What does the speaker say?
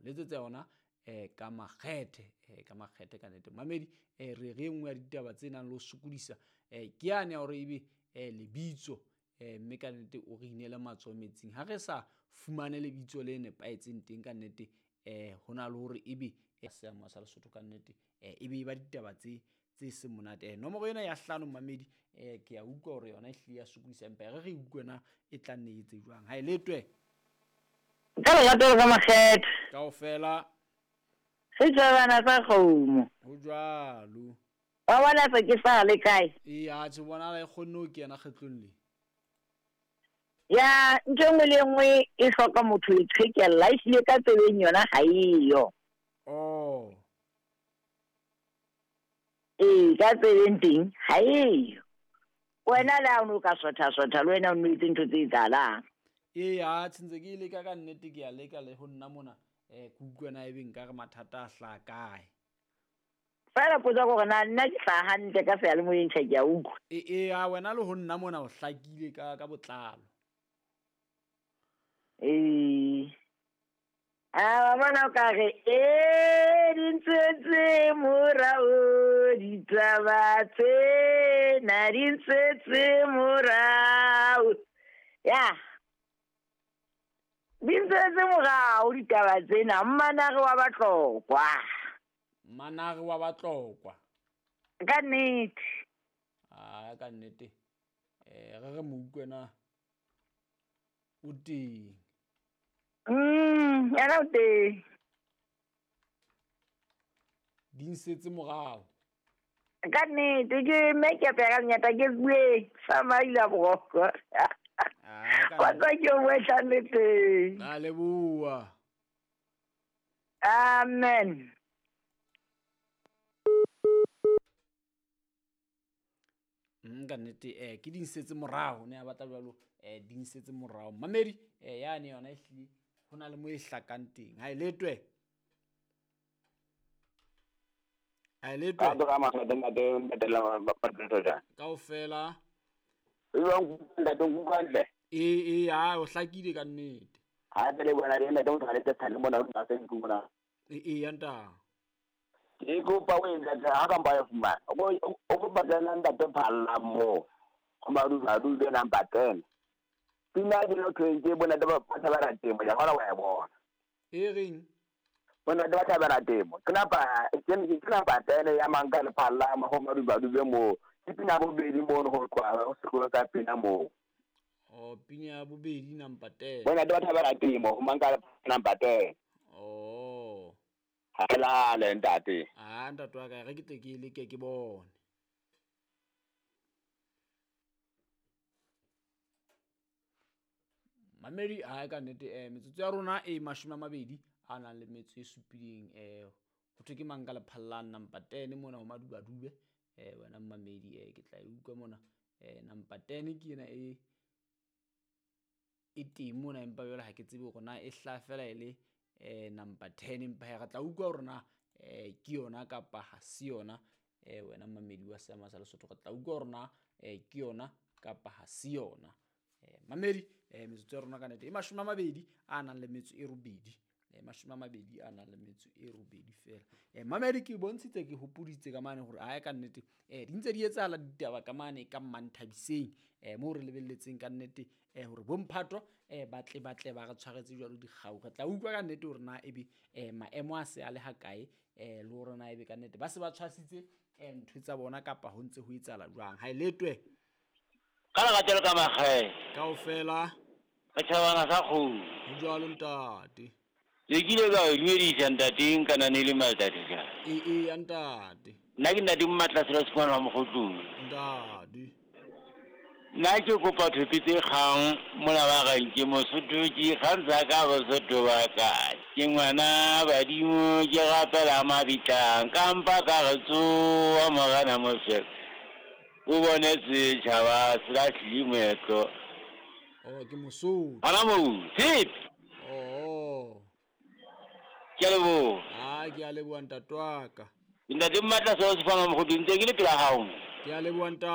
Letsetsa yona ka makgethe, ka makgethe ka nnete. Mamedi, re re e nngwe ya ditaba tse nang le ho sokodisa, ke yane ya hore ebe lebitso, mme ka nnete o re inele matsoho metsing. Ha re sa fumane lebitso le nepahetseng teng ka nnete, ho na le hore ebe seamo sa Lesotho ka nnete, ebe e ba ditaba tse seng monate. Nomoro ena ya 5 mamedi, ke a utlwa hore yona e hlile ya sokodisa, empa re utlwe na e tla nne e etse jwang. Ha e letwe. Ka lerato ka makgethe. Kaofela. Re tjhabana sa kgomo. Ho jwalo. Wa bona se ke sa le kae? Ee, a tjhe bona e kgonne ho kena kgetlong le. Ya, ntho e nngwe le nngwe e hloka motho e qhekella, e hlile ka tsebeng yona ha eyo. Oh. Ee, ka tsebeng teng ha eyo. Wena le ha o no ka sotha-sotha le wena o no etse ntho tse etsahalang. Ee, a tjhe ntse ke e leka ka nnete, ke a leka le ho nna mona. Ke utlwe na ebe nka re mathata a hlaha kae. Feela potso ke hore na nna ke hlaha hantle ka seyalemoyeng tjhe, ke a utlwa. Ee, a wena le ho nna mona o hlakile ka botlalo. Ee. A wa bona o ka re, ee, di ntswetse morao, ditaba tsena di ntswetse morao. Ya. Di ntswetse morao ditaba tsena, mmanare wa Batlokwa. Mmanare wa Batlokwa. Ka nnete. Ah, ka nnete. Re mo utlwe na o teng. Yena o teng. Di nsetse morao. Ka nnete ke make-up ya ka lenyata ke bue sa maila boroko. Wa tswa ke o boetlang le teng. A leboha. Amen. Ka nnete, ke di nsetse morao, ne a batla jwalo, di nsetse morao. Mamedi, yane yona e hlile ho na le mo e hlakang teng. Ha e letwe. Ha e letwe. Kaofela. Ee, ha o hlakile ka nnete. Ee, ya nta. Ke kopa o ntate ha ka mpa ya fumana. O kopa tsena ntate Phalla mo. Go Madumadube number 10. Pina ke no tshweng ke bona ba thabela temo ya bona wa e bona. E reng? Bona ba thabela temo. Ke napa ke number 10 ya manka le Phalla mo go Madumadube mo. Ke pina bobedi mo go tloa go sekolo ka pina mo. Oh, pina bobedi number 10. Bona ba thabela temo go manka number 10. Oh. Ha le ntate. Ah, ntate wa ka re ke tle ke leke ke bone. Mamedi ha ka nnete, metsotso ya rona e 20 a nang le metso e supileng, ho thwe ke mang ka Lephalla number 10 mona ho Madubadube. Wena mamedi, ke tla e utlwa mona. Number 10 ke ena e teng mona, empa jwale ha ke tsebe hore na e hlaha fela e le number 10, empa re tla utlwa hore na ke yona kapa ha se yona. Wena mamedi wa seama sa Lesotho, re tla utlwa hore na ke yona kapa ha se yona. Mamedi, metsotso ya rona ka nnete e 20 a nang le metso e 8. 20 a nang le metso e 8 fela. Mamedi ke bontshitse ke hopoditse ka mane hore ha ka nnete, di ntse di etsahala ditaba ka mane ka Mmanthabiseng, moo re lebelletseng ka nnete, hore bomphato, batle ba re tshwaretse jwalo dikgau. Re tla utlwa ka nnete hore na ebe, maemo a se a le ha kae, le hore na ebe ka nnete ba se ba tshwasitse, ntho tsa bona kapa ho ntse ho etsahala jwang. Ha e letwe. Ka lerato le ka makgethe. Kaofela. Re tjhabana sa kgomo. Ho jwalo ntate. Le kile ka o dumedisa ntate nka nane le maltate ka. Ee, ya ntate. Nna ke ntate Mmatla Selo Sekwana wa Mokgotlong. Ntate. Nna ke kopa thope tse kgang mona ba reng ke Mosotho, ke kgantsha ka Bosotho ba ka. Ke ngwana badimo, ke rapela mabitlang, ka mpa ka re tsoha morena Moshe. O bone setjhaba se lahlile moetlo. Oh, ke Mosotho. Hona moo, tshepe. Oh. Ke a leboha. Ah, ke a leboha ntate wa ka. Ntate Mmatla Selo Sekwana wa Mokgotlong, ntse ke le pela hao. Ke a leboha ntate.